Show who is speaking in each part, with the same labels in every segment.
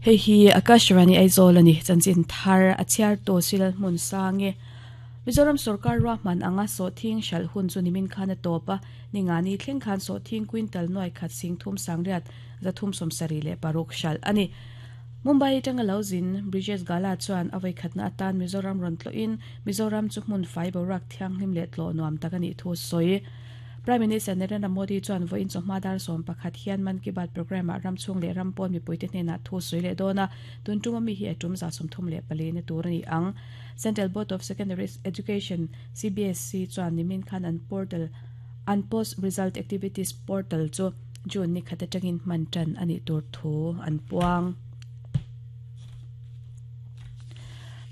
Speaker 1: Hei hi Akashvani Aizawl a ni, chanchin thar a chhiartu Silal hmun sang e. Mizoram sorkar ruahman anga sawhthing hralh hun chu nimin khan a tawp a, ningani thleng khan sawhthing quintal nuai khat sing thum sangriat 376 hralh a ni. Mumbai atanga lo zin Brijesh Gala chuan a vawikhatna atan Mizoram rawn tlawhin Mizoram chu hmun fai boruak thianghlim leh tlawh nuam tak a nih thu sawi. Prime Minister Narendra Modi chuan vawiin chawhma dar 11 hian Mann Ki Baat programme-ah ram chhung leh ram pawn mipuite hnenah thu sawi leh dawn a, tun tuma mi hi a tum 34 na tur a ni ang. Central Board of Secondary Education, CBSE, chuan nimin khan an portal an Post Result Activities Portal chu June ni khat atangin hman tan a nih tur thu an puang.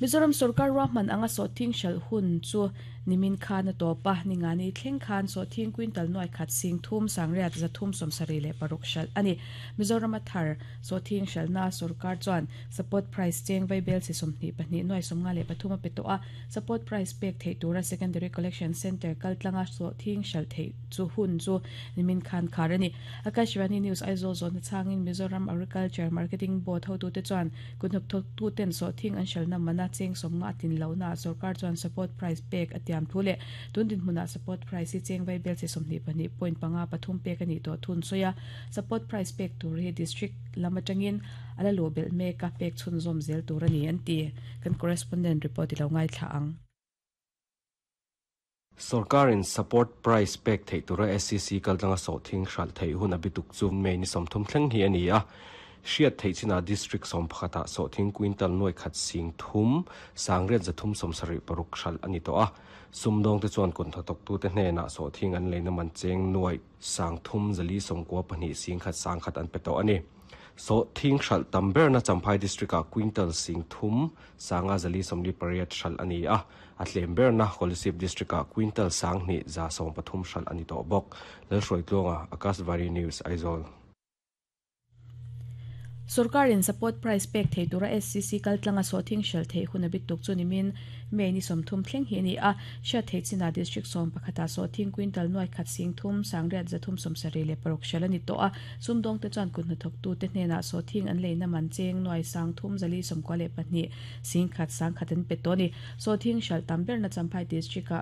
Speaker 1: Mizoram sorkar ruahman anga sawhthing hralh hun chu Nimin khan a tawp a, ningani thleng khan sawhthing quintal nuai khat sing thum sangriat 376 hralh a ni. Mizoram a thar sawhthing hralhna sorkar chuan support price cheng vaibel chi 22 nuai 53 a pe tawh a, support price pek theih tura secondary collection centre kaltlanga sawhthing hralh theih chu hun chu nimin khan khar a ni. Akashvani News Aizawl zawhna chhangin Mizoram Agriculture Marketing Board hotute chuan Kuthnathawktuten sawhthing an hralhna mana cheng sawmnga a tlin lohnaah sorkar chuan support price pek a tiam thu leh tun dinhmunah support price hi cheng vaibel chi 22.53 pek a nih tawh thun sawi a, support price pek tur hi district lam atangin a la luh belh mek a, pek chhunzawm zel tur a ni an ti. Kan correspondent report i lo ngaithla ang.
Speaker 2: Sorkarin support price pek theih tura SCC kaltlanga sawhthing hralh theih hun a bituk chu May ni 30 thleng hi a ni a. Hriat theih chinah District 11ah sawhthing quintal nuai khat sing thum, sangriat 376 hralh a ni tawh a. Sumdawngte chuan kawnthatawktute hnenah sawhthing an leina man cheng nuai sang thum zali 92 sing khat sang khat an pe tawh a ni. Sawhthing hralh tam berna Champhai District-ah quintal sing thum, sanga 448 hralh a ni a. A tlem berna Kolasib District-ah quintal 2,130 hralh a ni tawh bawk. Lalhruaitluanga, Akashvani News, Aizawl.
Speaker 1: Sorkarin support price pek thei tura SCC kaltlanga sawhthing hralh theih hun a bit tuk chu nimin May ni 30 thleng hi a ni a. Hriat theih chinah District 11ah sawhthing quintal nuai khat sing thum sangriat 376 hralh a ni tawh a. Sumdawngte chuan kut hnathawktute hnenah sawhthing an leina man cheng nuai sang thum 492 sing khat sang khat an pe tawh a ni. Sawhthing hralh tam berna Champhai District-ah.